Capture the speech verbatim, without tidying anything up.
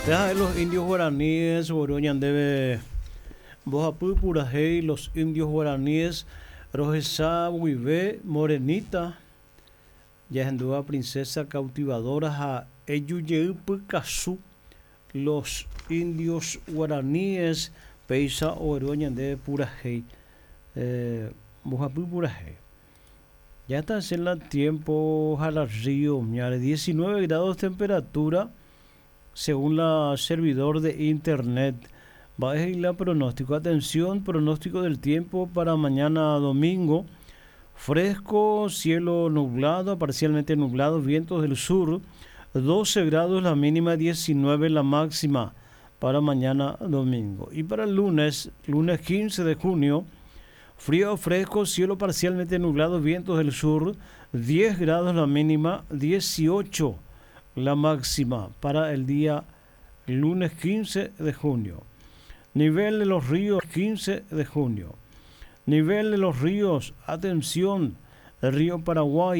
Deja los indios guaraníes, ogueru ñandéve mbohapy purahéi los indios guaraníes rohecha guive Morenita jahendúva Princesa Cautivadora ha Ejujey Pykasu los indios guaraníes péicha ogueru ñandéve purahéi eh, mbohapy purahéi. Ya está en el tiempo río, diecinueve grados temperatura según la servidor de internet. Va a la pronóstico. Atención, pronóstico del tiempo para mañana domingo. Fresco, cielo nublado, parcialmente nublado, vientos del sur, doce grados la mínima, diecinueve la máxima para mañana domingo. Y para el lunes, lunes quince de junio, frío fresco, cielo parcialmente nublado, vientos del sur, diez grados la mínima, dieciocho la máxima para el día lunes quince de junio. Nivel de los ríos, quince de junio. Nivel de los ríos, atención, el río Paraguay.